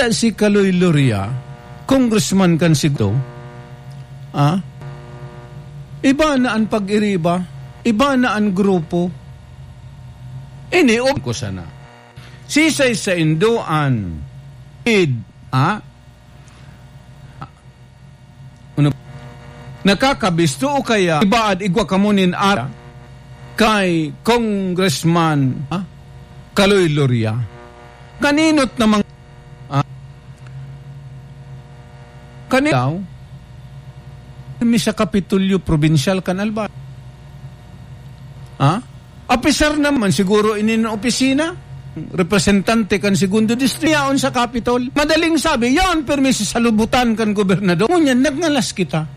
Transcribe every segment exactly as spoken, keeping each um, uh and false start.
Si Kaloy Loria, congressman kan siguro, ah? Iba na an pag-iriba, iba na an grupo. Ini, ob ko sana. Sisay sa indoan, id, ah? Ano? Nakakabisto o kaya ibaad igwa kamo nin ara kay Congressman, ah? Kaloy Loria. Kaninot namang, ah? Kani daw? Mi sa Kapitolyo Probinsyal kan Albay. Ha? Apisar naman siguro ini na opisina, representante kan Segundo Distrito, yaon sa Kapitol. Madaling sabi, yaon permi sa salubutan kan gobernador. Ngunyan, nagngalas kita.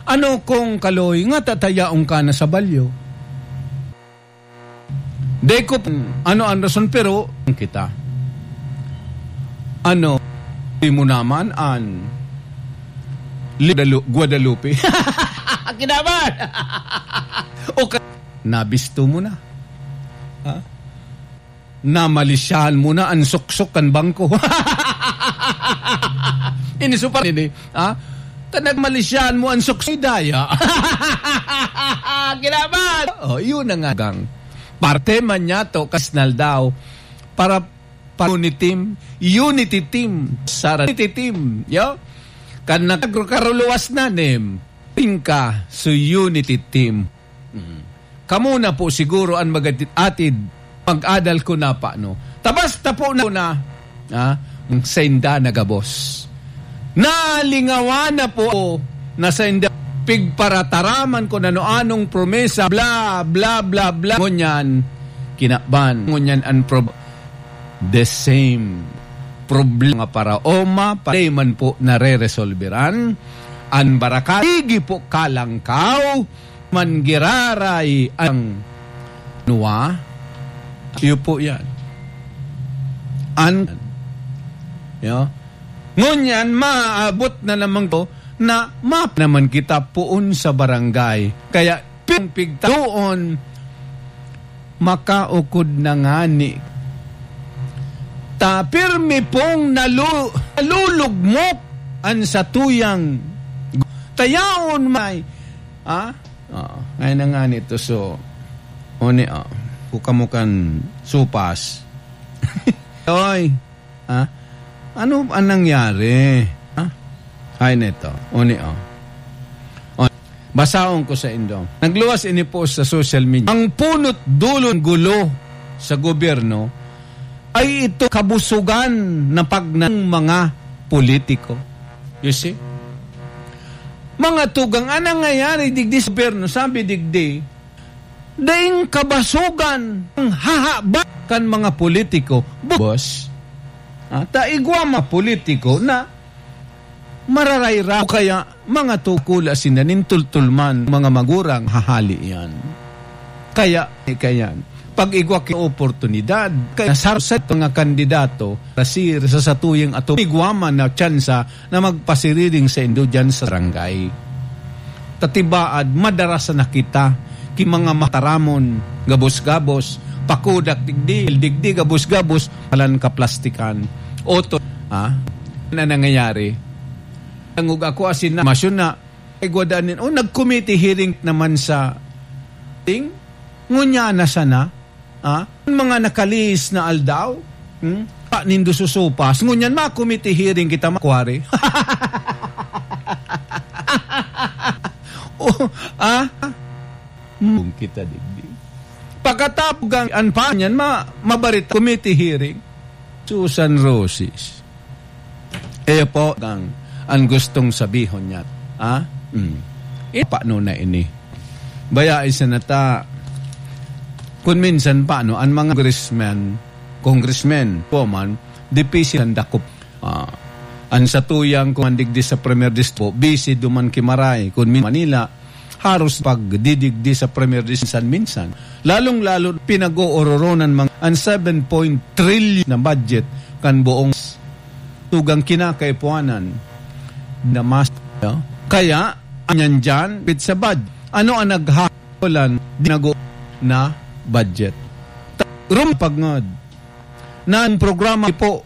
Ano kung Kaloy, nga tatayaon ka na sa balyo? Dai ko p-, ano an rason, pero kita. Ano, di mo naman an Li-, Guadalu-, Guadalupe. Kinaban! O ka-, nabisto mo na. Ha? Namalisyahan mo na an suksok kan bangko. Iniso pa rin eh. Ha? Kan nagmalisyahan mo an suksok, daya. Kinaban! Oh, yun na nga, gang. Parte man niya to, kasnal daw. Para, para unity team, unity team, sara unity team, yo? Kan nagkaruluwas na, nem, tingka, so unity team. Mm. Kamo na po siguro an mag-atid, mag-adal ko na pa, no? Tabas ta po na, na, ah, ang sainda na gabos. Nalingawan na po na sainda pigparataraman kun ano-anong promesa, bla, bla, bla, bla. Ngunyan, kinaban. Ngunyan, ang prob-, the same problema para oma, pa man po nare-resolveran. An baraka-, igi po kalangkaw, man giraray ang nuwa. Iyo po yan. An-, yo. Ngunyan, maabot na naman ko na map naman kita poon sa barangay. Kaya, pigtaon, makaukod na ngani. Ta pirmi pong nalu-, nalulugmok an satuyang tayaon may, ah? Oo, ngayon na ngani to, so, oni, oh, buka mo kan supas. Oy, Ha? Ano ang nangyari? Ha? Ay, neto. Oni, oh. Oh, basahon ko sa indo. Nagluwas ini po sa social media. Ang punot dulo ng gulo sa gobyerno ay ito kabusugan na pag ng mga politiko. You see? Mga tugang, anong nangyayari digdi sa gobyerno? Sabi digdi, daing kabasogan ang hahaba kan mga politiko. Boss, ah, ta igwa mga politiko na mararayra o kaya mga tukula sinda nin tultulman, mga magurang hahali yan. Kaya, kaya, pag igwa ki oportunidad, kaya sa, sa mga kandidato, sir, sa satuyang ato, igwa man na tsansa na magpasiriring saindo diyan sa barangay. Ta tibaad, madara sana kita ki mga mataramon, gabos-gabos, pakudak digdi, digdi, gabos-gabos, palan kaplastikan. Oto, ha? Na nangyayari. Tangog ako, asin na, masyon na, ay, gwadanin, oh, nag-committee hearing naman sa ting, ngunya na sana, Ah, mga nakalihis na aldaw, hmm? Pa nindo susupas. Ngunyan, ma-committee hearing kita, makwari. Oh, ah? Hmm, kita digdi. Pagkatapos, ang, ang pa niyan, ma-, mabarit committee hearing. Susan Roses. Iyo po ang, ang gustong sabihon niya. Ha? Hmm. Ipano na ini. Baya, isa na ta, kun minsan pa, no, ang mga congressman, congressmen, po man, dipisi ang dakop. Ah, ang satuyang kumandigdi sa Premier District po, busy duman ki Maray, kun min-, Manila, haros pagdidigdi sa Premier District minsan-minsan. Lalong-lalo pinag-oororonan mga ang seven point trillion na budget kan buong tugang kinakaipuanan na mas, no? Kaya, anyan dyan, pit sa bud-, ano ang naghahalan dinago na budget? Ta-, rum pagngod na ang programa po